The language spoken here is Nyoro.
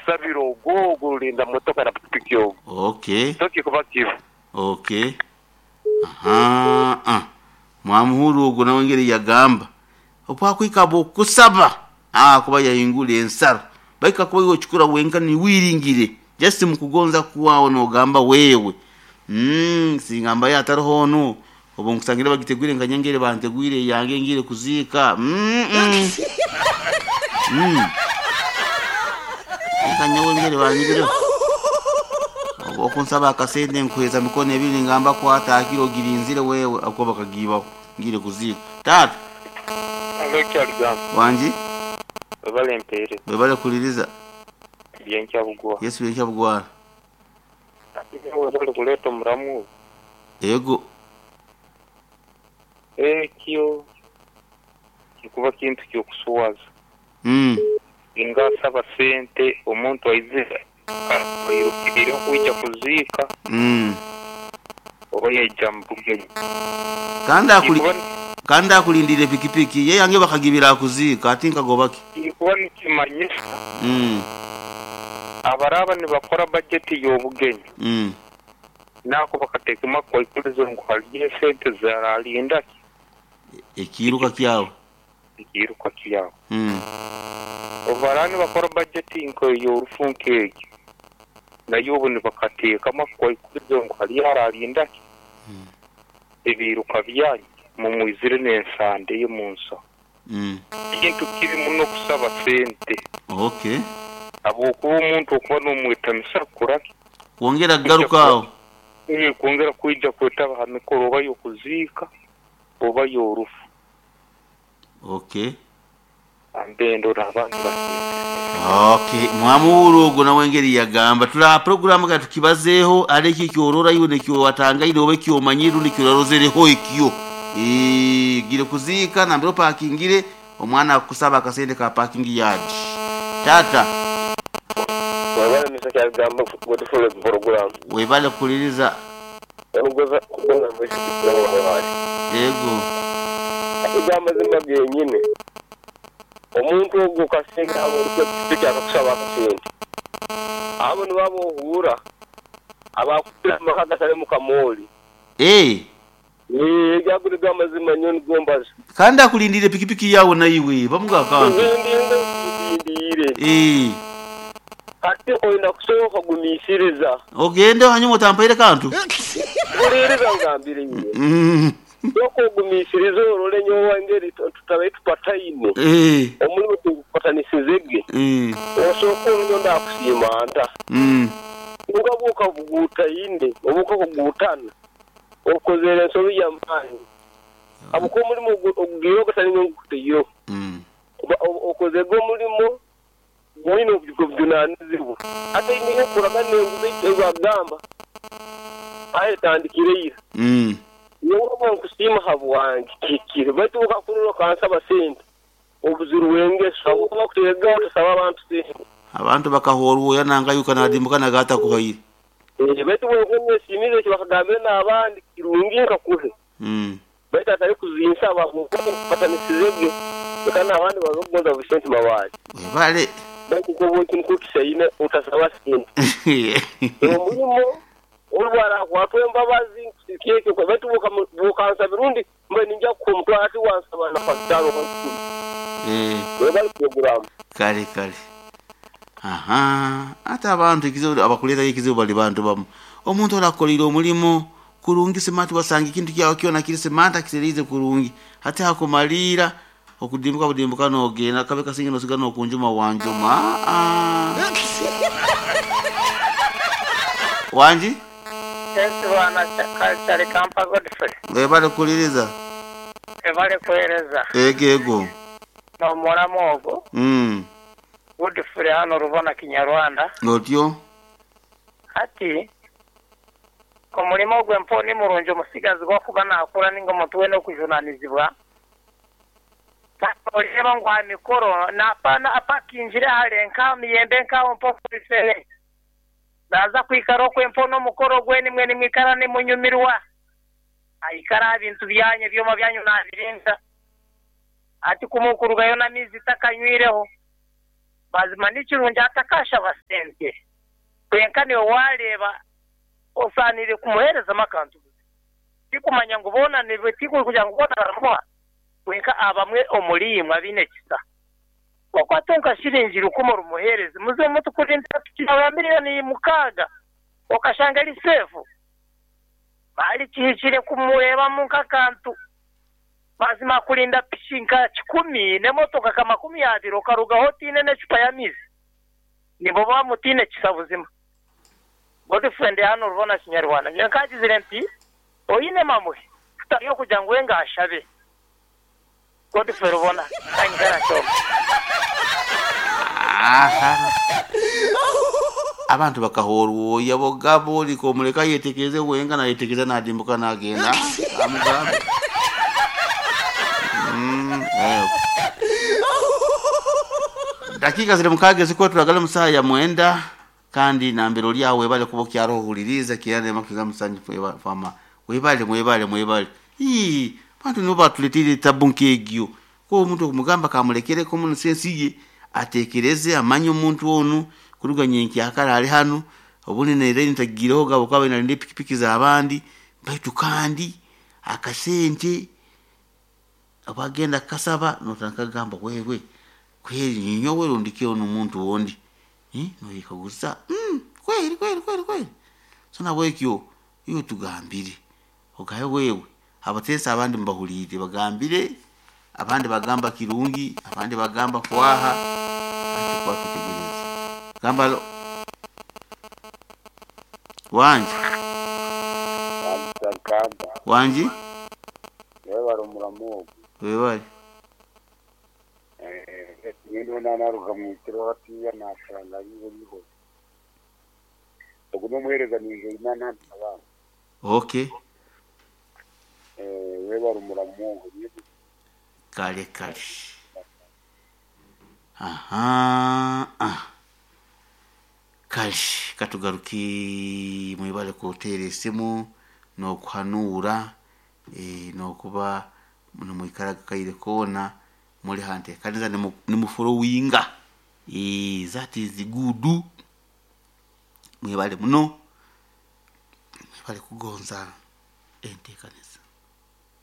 Okusabira ogwo ogwo orulinda motoka na pikipiki ogwo. Okay. So kikuba kibi. Okay. Ahaa. Mwamuhurra ogwo nawe engeri yagamba. Obu akwika habw'okukusaba, akuba yahingura ensaro. Baitu kakuba iwe okikora wenka niwiringire, just mukugonza kwawe nogamba wewe, mm, singa mbayo ataroho onu, obu nkusangire bagitegwire nka nyowe engeri bantegwire eyange ngiire kuziika, mm, mm. Mm. Nka nyowe engeri banyibireho. Obu okunsaba akasente nkuheeza mikono ebiri ningamba kwata hakiri ogirinzire wewe ahakuba bakagiibaho ngiire kuziika. Taata. Halo Kyaligambo. Wangi. Webale mpeereza. Webale kuhuliriza. Byenkya bugwara. Yes byenkya bugwara. Iwe webale kuleeta omuramu ogwo. Ego. Ekyo kikuba kintu ky'okuswaza. Singa asaba sente omuntu aizire airukiriireho kwija kuziika oba yaija mu bugenyi. Kandi akulindiire pikipiki ye yange bakagibira akuziika ati nkagoba ki? Kirikuba nikimanyisa abaraaba nibakora bajeti y'obugenyi nako bakateekemu akwaikurizo ngu hariyo esente ziralinda ki? Ekiiruka kyawe. Ekiiruka kyawe. Obu baraaba nibakora bajeti nk'ey'orufu nk'egyo, nayo obu nibakateekamu akwaikurizo ngu hariyo aralinda ki? Ebiiruka byanyu mumwizire n'ensande ye mu nsaho. Kintu kibi muno kusaba sente. Habwokuba omuntu okuba n'omwetamisa kukora ki? Kwongera kugaruka aho. Kwongera kwija kwetaba ha mikoro oba y'okuziika oba y'orufu. Ambendo n'abandi basinzire. Okay, mwamuhurra ogwo nawe engeri yagamba. Tuli aha puroguraamu ka tukibazeeho hali ekyo ekyorora iwe n'ekiwatangaine oba ekyomanyire rundi ekyorarozereho ekyo. Ogiire kuziika nambere opakingire, omwana akukusaba akasente ka parking yard. Taata. Webale Mister Kyaligambo Godfrey ku puroguramu. Webale kuhuliriza. Onugoza kugonza mwishiki wali. Ego. Ati amazima genyine. Omuntu ogwo kasinga aba oli kwepikipiki akakusaba akasente. Abo nibo abohuura abakukira amaka agatalimu kamooli. Eeh. Eeh, ago nigo amazima nyowe nigo mbaza. Kandi akulindiire pikipiki yaawe naiwe bamuga akantu. Nzindinga nzindindiire. Eeh. Hati oina kusooka kugumiisiriza. Ogende hanyuma otampaire kantu. Huliiriza ngambire iwe. Sooka ogumiisirize orole nyowe engeri tutabaire tupataine, omurimo tigukupatanisize ge. Osooke orole nyowe ndaakusiima nta. Kwonka bw'okabuguutaine oba okabuguutana, okozere ensobi y'amaani. Habw'okuba omurimo ogugiireho gatari nyowe ngukutaireho. Okozege omurimo gwine obujunanizibwa. Hati eine y'okuragana enguzi ei bagamba aye etandikire ira. Nyowe obu nkusiima habwange kihikire, baitu obu okakurora okansaba sente, obuzirwe engeso habwokuba bakuteegaho otasaba abantu sente. Abantu bakahwa orwoya nangayuka nadimbuka naga atakuhaire. Baitu bwenkuba nyesiimize eki bakagambire n'abandi kirungi nkakuhe. Baitu atari kuzinsaba habwokuba tinkupatanisize ge, leka n'abandi babe kugonza buli sente mabaale. Webale. Baitu nk'obu nikwo kisaine otasaba sente. Omulimo obu bwarakwatwa embabazi nkusiika ekyo, baitu bwokansabira rundi mbaire ninyija kukuha omutwaro hati wansaba na kapitalo oba kikumi. Webale puroguramu. Kale kale. Ahaa ate abantu ekizibu abakuleetayo ekizibu bali bantu bamu. Omuntu orakukoleire omulimo Kurungi simati wasanga ekintu kyawe kyona kiri simati akitereize kurungi. Hati hakumaliira okudimbuka budimbuka nogenda kabe kasinge nosigara nokunjuma wanjuma aa. Wangi? Thanks bwana Kyalikampa Godfrey. Webale kuhuliriza. Webale kuhereza. Ego ego. Nomuramu ogwo. Godfrey hano Rubona Kinyarwanda. Otyo. Hati Omurimo ogwo empewo ni murungi omutsigazi gw'okuba naakura nainga omuntu weena orikujunaanizibwa. Kandi nooreeba ngu aha mikoro apakingire hare nk'aha miyembe nk'aho mpa omu bifere. Naaza kwikara okwo empewo n'omukoro gwenu imwe nimwikara nimunyumirwa. Aikara aha bintu byanyu, ebyoma byanyu naabirinda. Hati ku murikurugayo n'amaizi takanywireho. Mazima nikirungi atakashaba sente. Kwenka niwe wareeba osaaniire kumuheerezamu akantu buzima. Tikumanya ngu boona tikugira ngu boona baramuha, kwenka abamwe omuri imwe abaine ekisa. Okwate nka shiringi 1000 orumuheereze, muzima omuntu kurindira piki yawe ya 6 million okashanga eri seefu. Mali kihikire kumureebamu nk'akantu. Mazima kurinda piki nka 100 n'emotoka nka 20 okarugaho otiine n'ecupa y'amaizi. Nimuba mutiine kisa buzima. Godfrey hano Rubona Kinyarwanda. Nyowe nkagizire nti oine mamuhe tutari okugira ngu we ngashabe. Godfrey Rubona kanyikara kyoma. Aha. Abantu bakahorwoya bogabo oliko omuleka yetekereze wenka nayetekereza nadimbuka nagenda amugambe. Dakika ziri mukaaga zikuba turagala mu saaha ya 9 kandi nambere oli aho webale kuba okyaro ohuliriza kirane makiga musanju fama webale mwebale mwebale. Ii bantu nibo batuletire tabu nk'egyo. Ko omuntu okumugamba kamulekereko muno sensi ye atekereze amanye omuntu onu kuruga nyenkyakara ali hanu obundi nere ntagireho gabo kwaba nalinde pikipiki z'abandi baitu kandi akasente abagenda kasaba notandika kugamba wewe kweri ninyowe rundi ki onu omuntu wondi noyekaguza kweri kweri kweri kweri. So nabwekyo iwe tugambire ogaye wewe abateesa abandi mubahulire bagambire abandi bagamba kirungi abandi bagamba kwaha ati kwatutegereza gamba lo wanji wanji webale omuramu ogu webale nyine nanaruga mwitiro hatiya nashanga yiho ogu n'omuheereza ninje ina nandi abana. Okay. Webale omuramu ogu. Kale kale. Aha. Kale katugaruke mwebale kuteera esimu n'okuhanuura n'okuba nimwikara kaire koona muri hanteekaniza nimuforowinga that is good. Mwebale muno mwebale kugonza enteekaniza.